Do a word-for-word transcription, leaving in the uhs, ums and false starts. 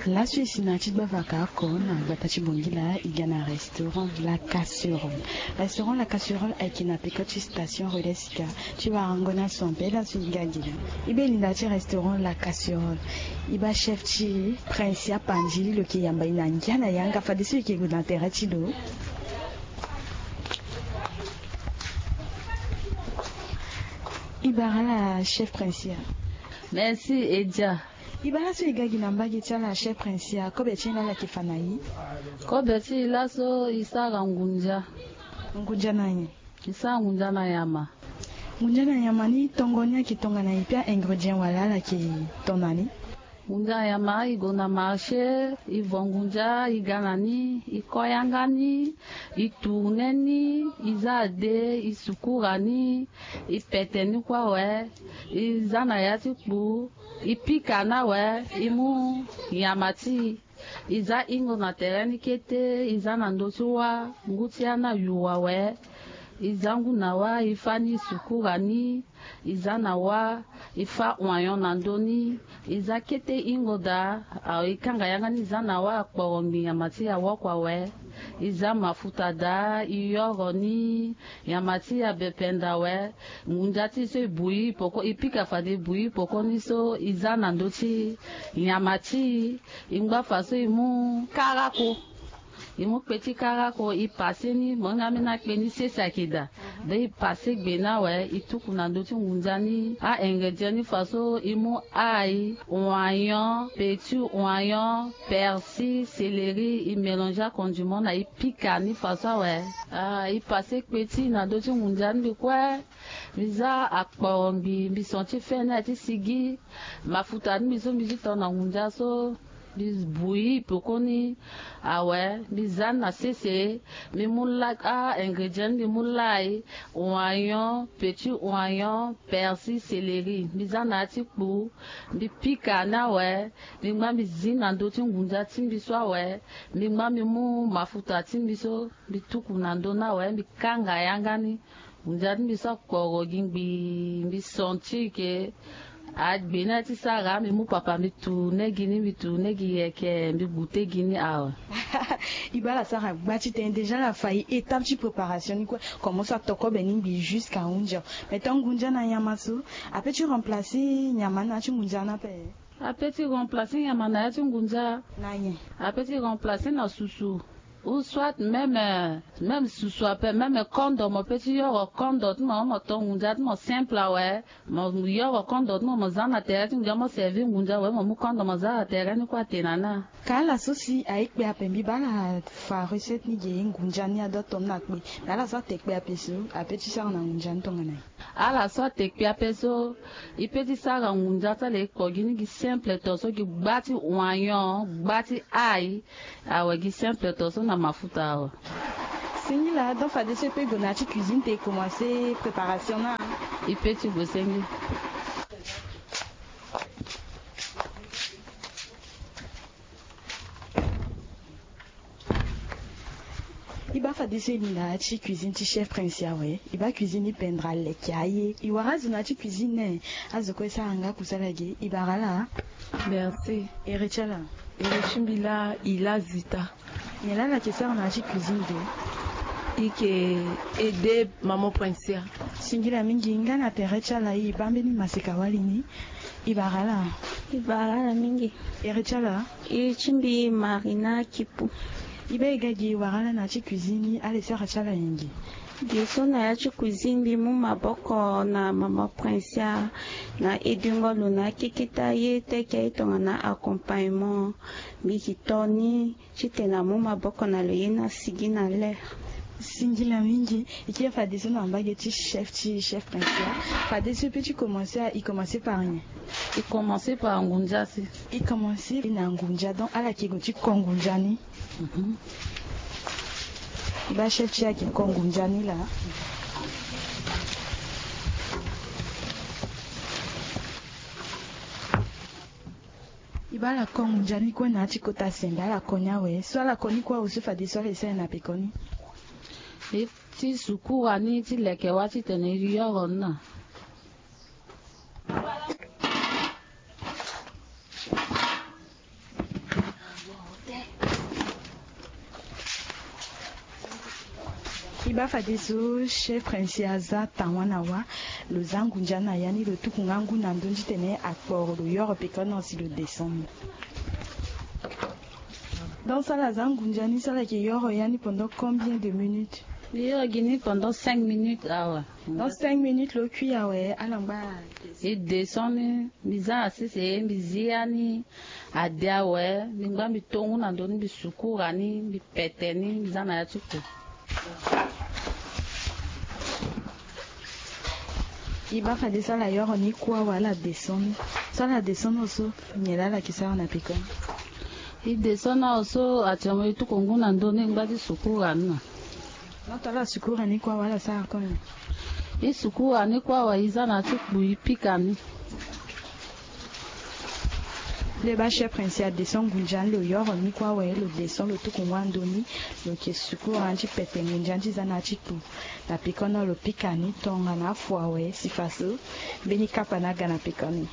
Laso e si na ya ti gbavaka oko na gbata ti Bongila, e ga na restaurant La Casserole. Restaurant La Casserole ayeke na peko ti station relais sika. Ti warango ni aso ape laso e ga gi laa. E be linda ti restaurant La Casserole. E baa chef ti Princia Pandji, lo yeke yamba e na ngia na yanga fadeso e yeke gue na tere ti lo. E bara ala chef Princia. Merci Edia. E bara so e ga gi na mbage ti ala chef Princia, kobe ti e na ala yeke fa na e? Kobe ti e laso e sara ngunza. Ngunza na nyen? E sara ngunza na nyama. Ngunza na nyama ni tongo ni ayeke tongana nyen, pe a-ingrédients wala ala yeke to na ni? Ngunza na nyama, e gue na marché, e vo ngunza, e ga na ni, e ko yanga ni, e tourner ni, e za ade, e sukura ni, e pete ni kue awe, e za na ya ti kpu, e pika ni awe, e mu nyama ti e, e za hingo na tere ni kete, e za na ndö ti wâ, ngu ti â ni ayuru awe, e za ngu na wâ, e fâ ni, e sukura ni, e za na wâ, e fâ oignon na ndö ni, e za kete hingo daa, awe, e kanga yanga ni, e za na wâ, akporo ngbi nyama ti e awoko awe, e za mafuta daa, e yoro ni, nyama ti e abependa awe, ngunza ti e so e bouillir peko, e pika fade e bouillir peko ni so, e za na ndö ti nyama ti e, e ngba fa so e mu karako. E mu kpe ti karako, e pase ni, mo hinga ambeni akpe ni sese ayeke daa. Donc e pase gbe ni awe, e tuku na ndö ti ngunza ni. A-ingrédients ni fa so e mu ail, oignon, petit oignon, persil, céleri, e mélanger acondiments na e pika ni fa so awe. Ah, e pase kpe ti e na ndö ti ngunza ni mbi kue. Mbi za akporo ngbi, mbi son ti fe ni aye ti sigi. Mafuta ni mbi so mbi ti to na ngunza so, mbi bouillir peko ni awe, mbi za ni na sese, mbi mu la, a-ingrédients ni mbi mu lai, oignon, petit oignon, persil, céleri, mbi za na ya ti kpu, mbi pika ni awe, mbi ngba mbi zi na ndö ti ngunza ti mbi so awe, mbi ngba mbi mu mafuta ti mbi so, mbi tuku na ndö ni awe, mbi kanga yanga ni. Ngunza ti mbi so akporo gi ngbii, mbi sentir ke agbe ni aye ti sara, mbi mu papa mbi tourner gi ni, mbi tourner gi yeke, mbi goûter gi ni awe. E baa ala sara gba ti tene, déjà ala fa e étape ti préparation ni kue, comme so ato kobe ni ngbii jusqu'à hunzi. Mais tant ngunza na nyama so, ape ti remplacer nyama na ya ti ngunza ni ape? Ape ti remplacer nyama na ya ti ngunza. Na nyen? Ape ti remplacer na susu. Ou soit même, euh, même susu ape, même kondo mo pe ti yoro kondo ti mo, mo to ngunza ti mo simple awe. Mo yoro kondo ti mo, mo za na tere ti ngunza, mo servir ngunza awe, mo mu kondo mo za na tere ni kue atene na ni. Ka ala so si aye kpe ape, mbi baa ala fa recette ni ge, ngunza ni ado ato ni na kpe. Mais ala so ate kpe ape so, ape ti sara na ngunza ni tongana nyen? Ala so ate kpe ape so, e pe ti sara ngunza ti ala, e kpo gi ni gi simple to so, gi gba ti oignon, gba ti ail, awe, gi simple to so na mafuta awe. Singila, donc fadeso e pe gue na ya ti cuisine te e commencer préparation na? E pe ti gue senge. E baa fadeso e li na ya ti cuisine ti chef Prince awe. E baa cuisine ni pendere aleke aye. E wara azo na ya ti cuisine ni, azo kue e sara nga kusala ge. E bara ala. Merci. Ere ti ala? Ere ti mbi laa e laa Zita. Nyen laa ala yeke sara na ya ti cuisine ge? E yeke aider maman Prince. Singila mingi. Nga na tere ti ala, e baa mbeni maseka wali ni. E bara ala? E bara ala mingi. Ere ti ala? Ere ti mbi Marina Kipu. E baa e ga gi e wara ala na ya ti cuisine ni, ala e sara ti ala nyen gi? Gi so na ya ti cuisine, mbi mu maboko na maman Prince na edingo lo na akeketa ye, teke aye tongana accompagnement. Mbi yeke to ni titene amu maboko na lo ye ni asigi na l'heure. Singila mingi. E kiri fadeso na mbage ti chef ti chef Prince. Fadeso e pe ti commencer, e commencer par nyen? E commencer par ngunza si. E commencer na ngunza, donc ala yeke gue ti ko ngunza ni. Mhm. E baa chef ti e ayeke ko ngunza ni laa. E baa ala ko ngunza ni kue na ya ti kota sembe, ala ko ni awe. So ala ko ni kue awe so, fadeso ala e sara na peko ni? E ti sukura ni ti leke wâ titene e yoro ni na. I baa fadeso chef princier aza tawa na wa. Lo za ngunza na ya ni, lo tuku nga ngu na ndö ni titene akporo lo yoro pekoni na si lo descend. Donc so ala za ngunza ni, so ala yeke yoro ya ni pendant combien de minutes? Mbi yoro gi ni pendant cinq minutes awe. Donc cinq minutes lo kui awe, ala ngba. E descend ni, mbi za na sese, mbi zi ya ni ade awe, mbi ngba mbi to ngu na ndö ni, mbi sukura ni, mbi pete ni, mbi za na ya ti kpo. I baa fadeso ala yoro ni kue awe, ala descend ni. So ala descend ni so, nyen laa ala yeke sara na pekoni? I descend ni awe so, actuellement e tuku ngu na ndö ni, e ngba ti sukura ni na. Donc tala sukura ni kue awe, ala sara kue nyen? I sukura ni kue awe, i za na ya ti kpo, i pika ni. Lo baa chef princier adescend ngunza ni, lo yoro ni kue awe, lo descend, lo tuku ngu na ndö ni, lo yeke sukura ni ti pete ngunza ni ti za na ya ti kpo. Na pekoni lo pika ni tongana afu awe, si faso mbeni kapa ni aga na pekoni.